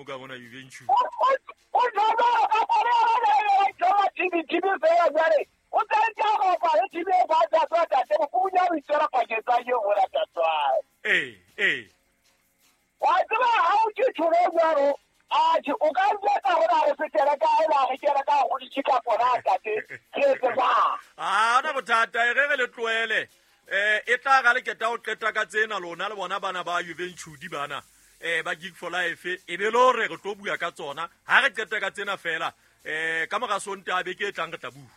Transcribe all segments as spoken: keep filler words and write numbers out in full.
team ka bona Juventus. O jalo ka pare ya ya T V T V fela jwale. O tsentse go pare T V ba tsa tsa tate bo punya o itsela paketsa ye o la tsa. Eh eh. Wa tseba ha o ke tsholo jwalo a tjhe o ka njetsa hore a re fetele ka e la re kena ka go ditshika pona tate ke tse ba. Ah ona bothata e re re le tlohele. Eh e tla ga le keta o qeta ka tsena lona le bona bana ba Juventus bana. Eh ba Gig for Life e be lo re re tlo bua ka tsona ha re qeta ka tsena fela eh ka mora Sontaha be ke tlang re tla bua.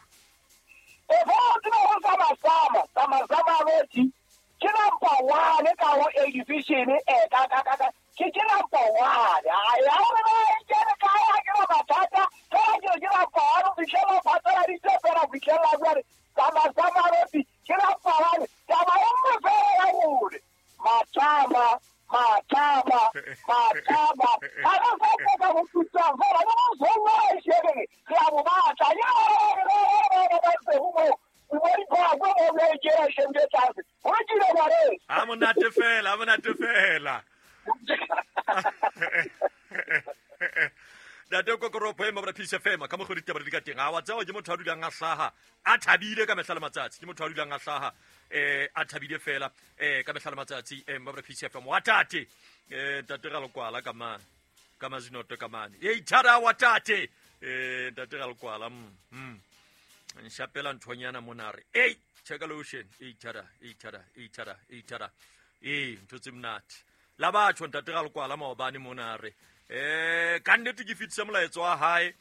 E bo tsena ho sama sama sama sama loti ke number one ka ho A division e ka ka ka ke ke number one a ya re ba ke re ka ya ke ba batata ka ke ke number one fitlhela phatla di tse fela fitlhela jwale sama sama loti ke number one taba e nngwe fela ya hore matama matama matama a re sa ka go tutsa fela le go sona e shebe re a bo batla ya re ba se ho mo o bo ba go mo le ke ra shebe tlase ho tshile ba re a monate fela a monate fela. Ntate Kokoropo e mabra Peace F M ka mo go ditaba di ka teng a wa tseo ke motho a dulang a hlaha a thabile ka mehla le matsatsi ke motho a dulang a hlaha eh a thabile fela eh ka mehla le matsatsi eh mabra Peace F M wa tate eh ntate ga lokwala ka mane ka mazinoto ka mane e ithara wa tate eh ntate ga lokwala mm nshapela nthonyana monare ei check lotion e ithara e ithara e ithara e ithara eh ntho tse monate la batho ntate ga lokwala maobane monare eh ka nnete ke fitse molaetso wa hae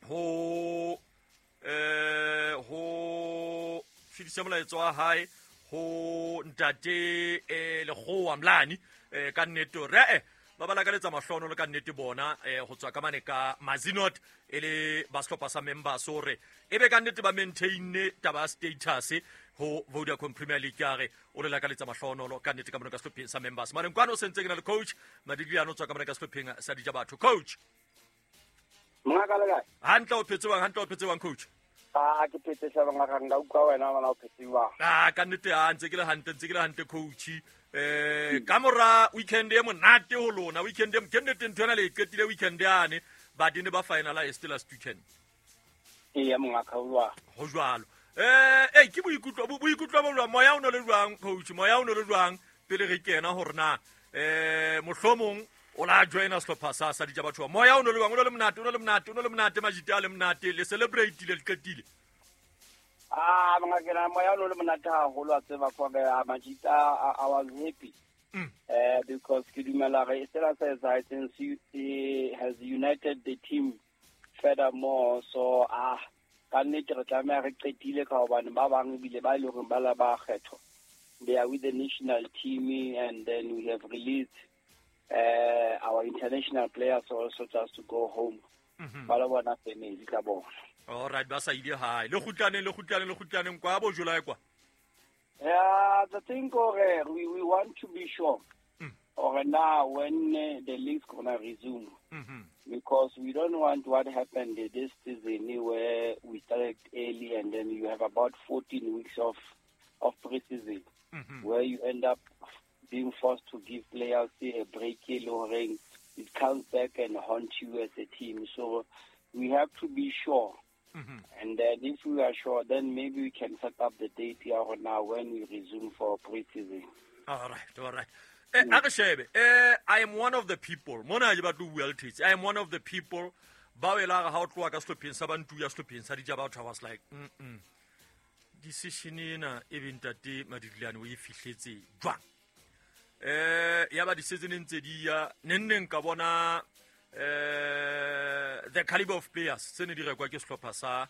ho eh ho fitse molaetso wa hae ho ntate eh Lekgowa Mlani eh ka nnete re eh ba ba lakaletsa mahlono le ka nnete bona eh ho tswa ka mane ka Mazinot e le ba sehlopha sa members hore e be ka nnete ba maintain taba status ho Vodacom Premier League ya re o le lakaletsa mahlonolo ka nnete ka mona ka sehlopheng sa members mare nkwana o sentse ke na le coach Madigliano tswa ka mona ka sehlopheng sa Dijabatho coach Mongaka le kae hantle o phetse bang hantle o phetse bang coach ah ke phetse sa bangaka nka utlwa wena bana o phetse bang ah ka nnete a ntse ke le hantle ntse ke le hantle coach eh ka mora weekend e monate ho lona weekend e ke nnete ntho ena le qetile weekend yane ba dine ba finalize last weekend e ya mongaka o jwalo ho jwalo eh eh ke boikutlo boikutlo bo jwang moya o no le jwang coach moya o no le jwang pele re kena hore na eh mohlomong o la joina sehlopha sa sa Dijabatho moya o no le jwang o no le monate o no le monate o no le monate majita a le monate le celebrate le qetile ah mongaka na moya o no le monate haholo a tseba kwa ga majita I was happy mm. eh because ke dumela re sela sa etsahetseng has united the team furthermore so ah ka nnete re tlameha re qetile ka hobane ba bang ebile ba ile hore ba la ba kgetho they are with the national team and then we have released uh, our international players also just to go home mm-hmm. ba la bona family ka bona all right ba sa ile hae le kgutlaneng le kgutlaneng le kgutlaneng kwa bo July kwa yeah the thing gore we we want to be sure mm. or now when uh, the league's gonna resume mm-hmm. because we don't want what happened this season where we started early and then you have about fourteen weeks of of pre-season mm-hmm. where you end up being forced to give players a break it comes back and haunt you as a team. So we have to be sure. Mm-hmm. And then if we are sure, then maybe we can set up the date here now when we resume for pre-season. All right, all right. Eh, mm. eh, I am one of the people. Mona ke batlo bua le Thetsi. I am one of the people. Ba wela ha o tloha ka sehlopheng sa Bantu ya sehlopheng sa Dijabatho. I was like, mm mm. Decision ena e be ntate Madigliane o e fihletse jwang? Eh, ya ba di-season ntse di ya nenneng ka bona eh the caliber of players tse ne di rekwa ke sehlopha sa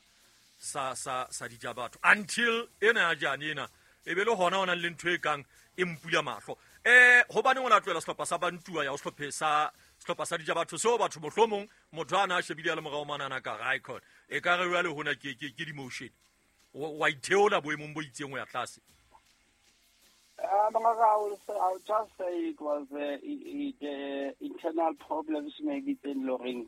sa sa sa Dijabatho until ena ya jane ena e be le hona ona le ntho e kang e mpula mahlo eh hobane ona tlohela sehlopha sa Bantua ya sehlopha sa sehlopha sa Dijabatho seo batho mohlomong motho ana a shebile le morao manana ka record e ka re jwale hona ke ke ke demotion wa itheola boemong bo itseng ho ya tlase. Um, I will say, I will just say it was uh, it, it, uh, internal problems maybe teng loreng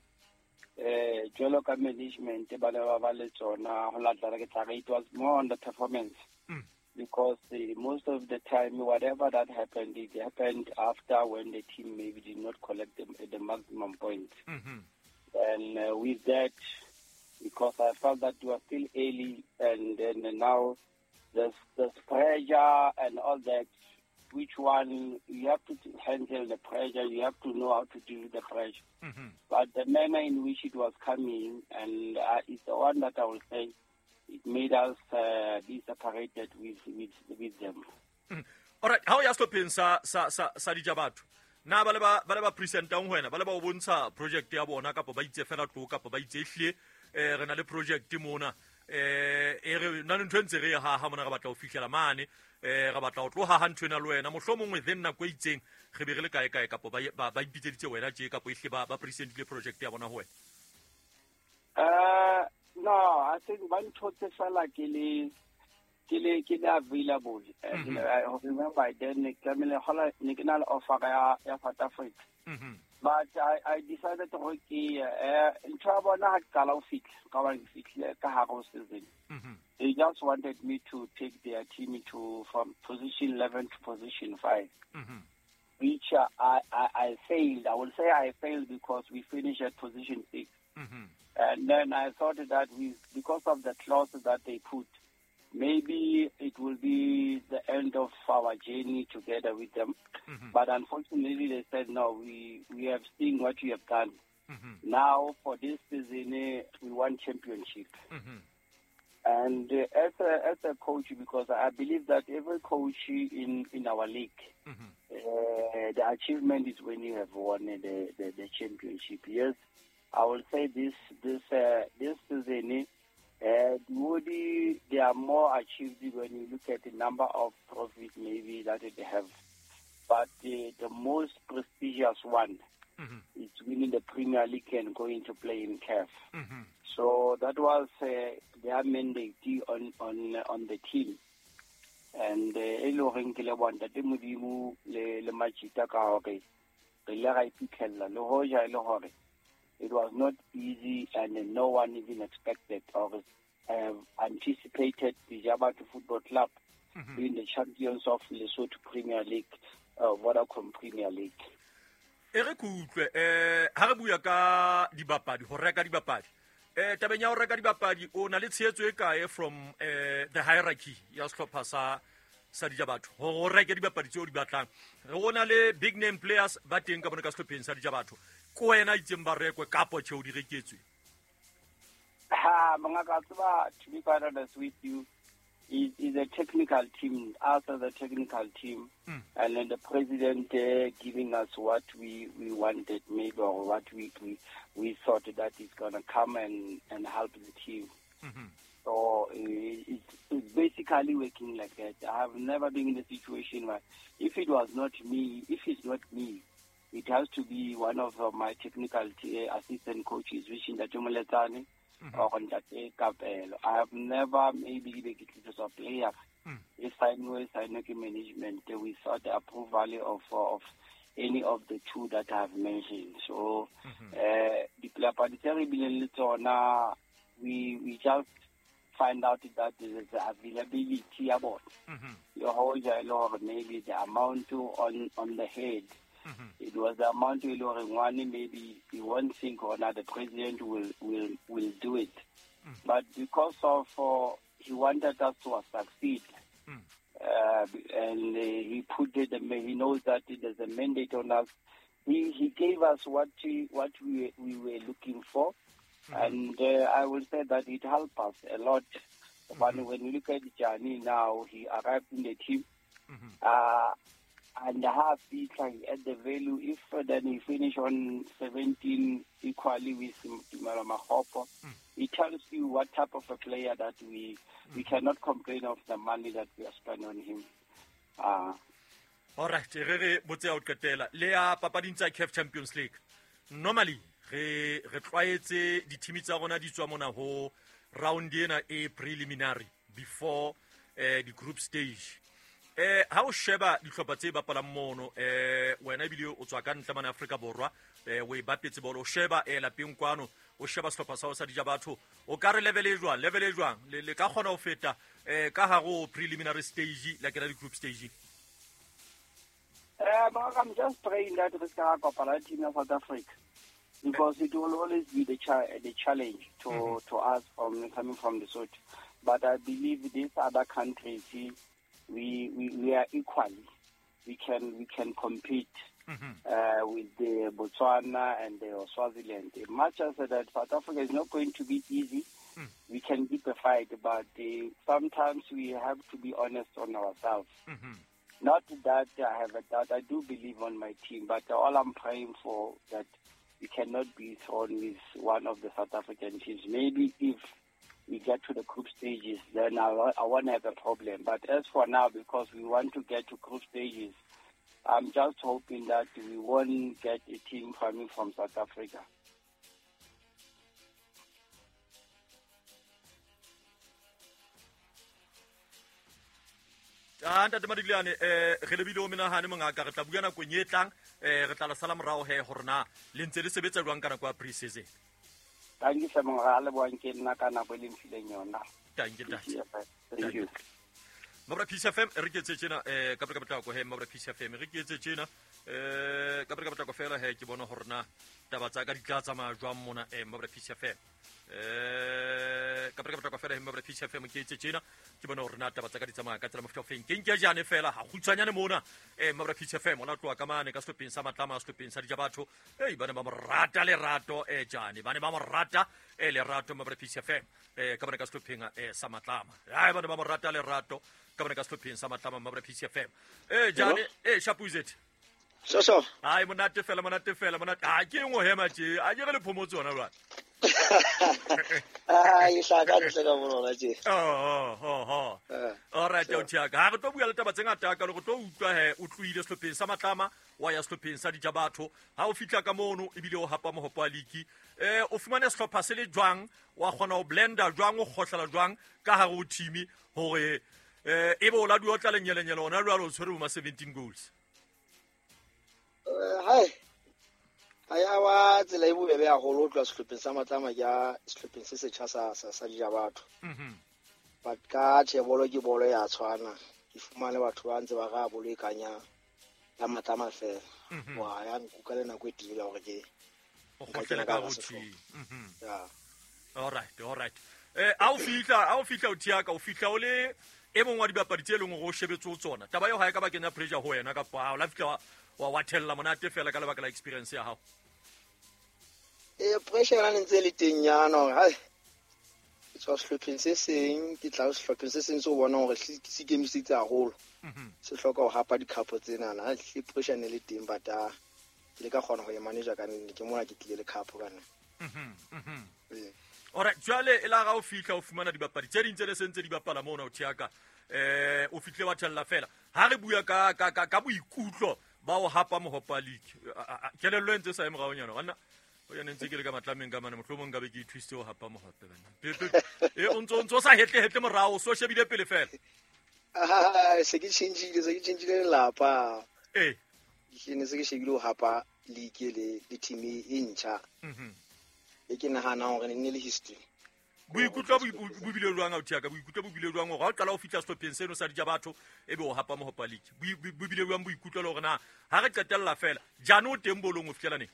eh jwalo ka management ba ne ba ba le tsona ho latela ke tla re it was more on the performance mm. Because uh, most of the time, whatever that happened, it happened after when the team maybe did not collect the, the maximum points. Mm-hmm. And uh, with that, because I felt that we were still early, and then now there's, there's pressure and all that, which one, you have to handle the pressure, you have to know how to deal with the pressure. Mm-hmm. But the manner in which it was coming, and uh, it's the one that I will say, it made us uh, be separated with, with, with them. Mm. All right, how ya sehlopheng sa sa sa sa Dijabatho? Na ba le ba ba le ba presentang ho wena, ba le ba o bontsha project ya bona kapa ba itse fela tlo kapa ba itse ehlile eh re na le project mona eh e re na le ntho e ntse re ha ha mona re batla ho fihlela mane eh re batla ho tloha ha ntho ena le wena mohlomong within nako e itseng re be re le kae kae kapa ba ba ba ipitseditse wena tje kapa ehlile ba ba presentile project ya bona ho wena. Uh no, I think one thotse fela ke le ke le ke le available. Mm-hmm. And I remember then ne tlamehile hola ne ke na le offer ya ya South Africa. Mm-hmm. But I I decided to ke eh ntho ya bona ha ke qala ho fihla ka ba ke fihlile ka hare ho season. Mm-hmm. They just wanted me to take their team to from position eleven to position five. Mm-hmm. Which uh, I, I I failed. I will say I failed because we finished at position six. Mm-hmm. And then I thought that we, because of the clause that they put, maybe it will be the end of our journey together with them. Mm-hmm. But unfortunately, they said, no, we, we have seen what you have done. Mm-hmm. Now, for this season, eh, we won championship. Mm-hmm. And uh, as a, as a coach, because I believe that every coach in, in our league, mm-hmm. uh, the achievement is when you have won the, the, the championship. Yes, I will say this this uh, this season, uh, Woody, they are more achieved when you look at the number of trophies maybe that they have. But the, the most prestigious one mm-hmm. is winning the Premier League and going to play in C A F. Mm-hmm. So that was uh, their mandate on, on, on the team. And e le horeng ke leboha ntate Modimo le le Majita ka hore re ile ra iphitlhella le hoja e le hore it was not easy and no one even expected or uh, anticipated the Dijabatho Football Club mm-hmm. being the champions of Lesotho Premier League, uh, Vodacom Premier League. E re ke utlwe eh ha re bua ka dibapadi ho reka dibapadi eh tabeng ya ho reka dibapadi o na le tshehetso e kae from eh the hierarchy ya sehlopha sa sa Dijabatho hore o reke dibapadi tseo di batlang re ona le big name players ba teng ka bona ka sehlopheng sa Dijabatho ko wena itseng ba rekwe kapo tjhe o di reketswe? Ha mongaka tseba, to be quite honest with you, is is a technical team, us as a technical team, mm. and then the president uh, giving us what we, we wanted maybe or what we, we, we thought that is gonna come and, and help the team. Mm-hmm. So uh, it's, it's basically working like that. I have never been in a situation where if it was not me, if it's not me, it has to be one of uh, my technical t- assistant coaches, which is Ntate Moletsane mm-hmm. or Ntate Kapelo. I have never maybe been a player. Mm. If I know, if I know management without the approval of, of any of the two that I have mentioned. So, mm-hmm. uh, the we we just find out that there is availability about mm-hmm. maybe the amount on on the head. Mm-hmm. It was the amount we maybe you won't think or not the president will will, will do it. Mm-hmm. But because of uh, he wanted us to succeed, mm. uh, and uh, he put it, he knows that there's a mandate on us. He he gave us what we, what we we were looking for, mm-hmm. and uh, I will say that it helped us a lot. Mm-hmm. But when you look at Gianni now, he arrived in the team. Mm-hmm. Uh, and half he at the value. If uh, then he finish on seventeen equally with Tumelo Makgopo, mm. it tells you what type of a player that we mm. we cannot complain of the money that we have spent on him. Uh, All right, re re botse ya o qetela le ya papading tsa C A F Champions League. Normally re re tlwaetse di-team tsa rona di tswa mona ho round ena e preliminary before eh, the group stage. Eh ha o sheba dihlopha tse bapalang mono eh wena ebile o tswa ka ntle mane Afrika Borwa eh o e bapetse bolo o sheba eh lapeng kwano o sheba sehlopha sa ho sa dija batho o ka re level e jwang level e jwang le le ka kgona ho feta eh ka hare ho preliminary stage la kena di group stage. Uh, I'm just praying that we can kopana team of South Africa, because it will always be the cha- the challenge to, mm-hmm. to us from coming from the Lesotho. But I believe these other countries, we we, we are equally. We can we can compete mm-hmm. uh, with the Botswana and the Swaziland. Much as that South Africa is not going to be easy, mm. we can keep a fight. But uh, sometimes we have to be honest on ourselves. Mm-hmm. Not that I have a doubt. I do believe on my team, but all I'm praying for that we cannot be thrown with one of the South African teams. Maybe if we get to the group stages, then I, I won't have a problem. But as for now, because we want to get to group stages, I'm just hoping that we won't get a team coming from South Africa. Ah ntate Madigliane eh re lebile o menahane mongaka re tla bua nakong e tlang eh re tla la sala morao he hore na le ntse le sebetsa jwang ka nako ya pre-season. Thank you hle mongaka le boang ke nna ka nako e le mfileng yona. Thank you ntate. Thank you. Mabra Peace F M re ke etse tjena eh ka ka potlako he Mabra Peace F M re ke etse tjena eh ka ka potlako fela he ke bona hore na taba tsa ka di tla tsamaya jwang mona eh Mabra Peace F M eh ka ka potlako fela he Mabra Peace F M ke etse tjena ke bona hore na taba tsa ka di tsamaya ka tsela mofuta ofeng ke nke jane fela ha kgutshwanyane mona eh Mabra Peace F M ona tloha ka mane ka sehlopheng sa Matlama sehlopheng sa dija batho eh bana ba mo rata lerato eh jane bana ba mo rata eh lerato Mabra Peace F M eh ka bana ka sehlopheng eh sa Matlama ai bana ba mo rata lerato ka bana ka sehlopheng sa Matlama Mabra Peace F M eh jane eh Shapuzet so so ai monate fela monate fela monate ha ke engwe hema tje a ke re le phomotso yona jwale ai hlaka ntle ka bona tje oh oh oh all right o tjaka ha re tlo bua le taba tse ngata ka le go tlo utlwa he o tloile sehlopheng sa Matlama wa ya sehlopheng sa dija batho ha o fitla ka mono ebile o hapa mohopo wa league eh o fumane sehlopha se le jwang wa kgona ho blender jwang o kgohlela jwang ka hare ho team hore eh ebe o la dua tla lenyelenyele ona jwalo o tshwere bo ma seventeen goals. Hai ha wa tsela e bobebe haholo ho tloha sehlopheng sa Matlama ke ya sehlopheng se setjha sa sa sa dija batho. Mhm. But ka tjhe bolo ke bolo ya tshwana. Ke fumane batho ba ntse ba ra bolo e kanya ya Matlama fela. Wa ya nkuka le nako e telele hore ke o kgotlele ka ho team. Mhm. Ya. All right, all right. Eh a o fihla, a o fihla o thiaka, o fihla o le e mong wa dibapadi tse leng hore o shebetse ho tsona. Taba eo ha e ka ba kenya pressure ho wena kapa ha o la fihla wa wa thella monate fela ka lebaka la experience ya hao. Eh pressure yona ntse le teng yana hore hai ke tswa sehlopheng se seng ke tla sehlopheng se seng se o bona hore se ikemiseditse haholo. Se hloka ho hapa dikhapo tsenana ha hle pressure ne le teng but a ke le ka kgona ho e manager ka nne ke mona ke tlile le khapo ka nne. Mhm mhm. Ora jwale e la ga o fihla o fumana dibapadi tse ding tse le sentse di bapala mona o thiaka eh o fihle wa thella fela ha re bua ka ka ka boikutlo ba o hapa mohopa league kelello e ntse sa e moraonyana banna o ya ntse ke le ka Matlameng ka mane mohlomong nka be ke ithusitse ho hapa mohope banna e o ntso ntso sa hetle hetle morao so shebile pele fela ah se ke tjhentjhile se ke tjhentjhile lelapa eh ke ne se ke shebile ho hapa league le le team e ntjha mhm e ke nahana hore ne le history boikutlo bo bile jwang o thiaka boikutlo bo bile jwang hore ha o qala ho fihla sehlopheng seno sa dija batho ebe o hapa mohopa league bo bile jwang boikutlo le hore na ha re qetella fela jane o teng bolong o fihlela neng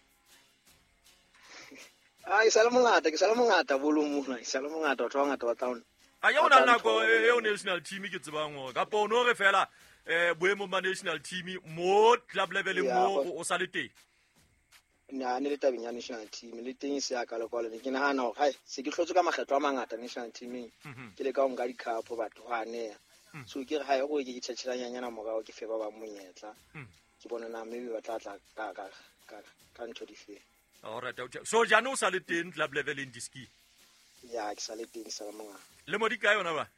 ah e sale mongata ke sale mongata bolong mona e sale mongata batho ba bangata ba tla a ya ona nako eo national team ke tsebang hore kapa o no re fela eh boemong ba national team mo club level mo o sa le teng na ne le tabeng ya national team le teng se ya ka le kwale ke nahana hore hai se ke hlotse ka makgetlo a mangata national teaming ke le ka ho nka dikhapo batho ha neya so ke re hai go ke tjhetjhelanyana morao ke fe ba ba monyetla ke bona na maybe ba tla tla ka ka ka ka ntho di fe. All right, so jane o sa le teng club level in diski ya ke sa le teng sa mongaka le mo di kae yona ba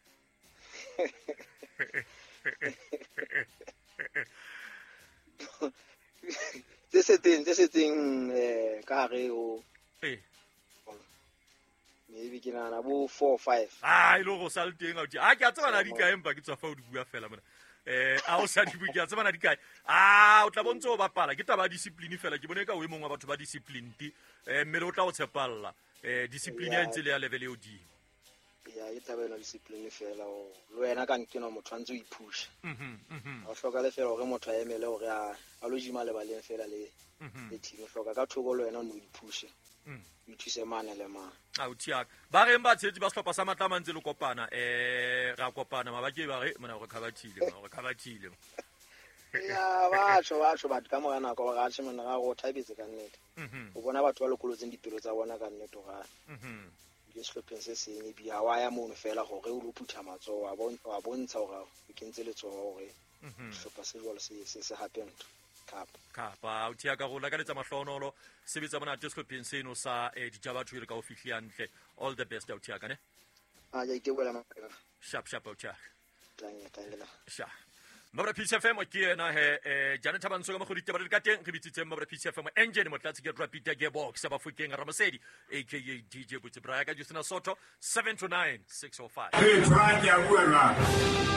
tse setseng tse setseng eh ka hare o eh maybe ke nahana bo four five ah e le go sa le teng a a ke a tsebana di kae empa ke tswa fa o di bua fela mona eh a o sa di bua ke a tsebana di kae ah o tla bontse o bapala ke taba ya discipline fela ke bone ka o e mong wa batho ba discipline eh mmele o tla o tshepalla Eh discipline ya ntse le ya level e hodimo. Ya e taba ena discipline fela o le wena ka nkena motho a ntse o iphusha. Mhm mhm. Ha o hloka le fela hore motho a emele hore a a lo jima lebaleng fela le le team hloka ka thoko le wena o no iphushe. Mm. O ithuse mane le mane. A o thiaka. Ba reng ba tshetsi ba sehlopha sa Matlama ntse le kopana eh ra kopana mabake ba re mona re khabathile mona re khabathile. Ya batho batho batho ka mora nako ba rathe mona ra go thabetse ka nnete. Mhm. O bona batho ba lokolotseng dipelo tsa bona ka nnete ga. Mhm. Ke sehlopheng se seng e bia wa ya mono fela hore o lo phutha matsoho wa bon wa bontsha hore o kentse letsoho hore Mhm. sehlopha se jwalo se se se hape ntho. Cup. Kapa o thiaka go lakaletsa mahlonolo sebetsa monate sehlopheng seno sa eh, Dijabatho e re ka o fihli hantle. All the best o thiaka ne. A ja iteboela maka. Sharp sharp o thiaka. Tlange tlange la. Sha. Mabra P C F M ke yena he eh Janet Thabantsho ka mogodi taba di ka teng re bitsitseng Mabra P C F M engine motlatsi ke Rapida Gearbox ba Bafokeng Ramosedi aka D J Botse Braya ka Justina Soto seven to nine six oh five. Hey, try ke a bua jwang?